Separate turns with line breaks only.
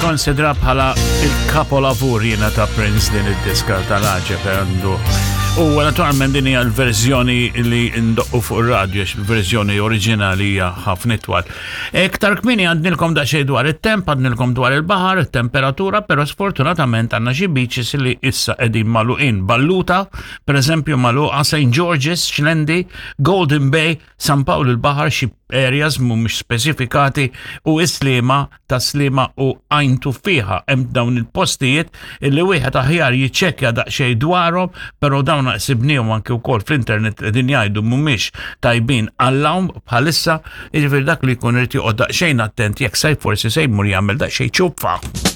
Nikkonsidra bħala il-kapolavur jiena ta' Prince din id-diska tal-għaġeb għandu. U naturalment din hija l-verżjoni li ndoqqu fuq ir-radju għax il-verżjoni oriġinali hija ħafna itwal. Iktar kmieni għandnilkom daqsxejn dwar it-temp, għandnilkom dwar il-baħar, it-temperatura, però sfortunatament għandna xi beaches li issa qegħdin magħluqin. Balluta, per eżempju, magħluqa St. George's, Xlendi, Golden Bay, San Pawl il-Baħar xi areas mhumiex speċifikati u Is-Sliema, Tas-Sliema u Għajn Tuffieħa. Hemm dawn il-postijiet illi wieħed aħjar jiċċekkja daqsxejn dwarhom, però dawn sibniehom anke wkoll fl-internet li qegħdin jgħidu mhumiex tajbin għall-għawm bħalissa, jiġifieri dak li jkun irid joqgħod daqsxejn attent jekk se forsi se jmur jagħmel daqsxejn ċupfa.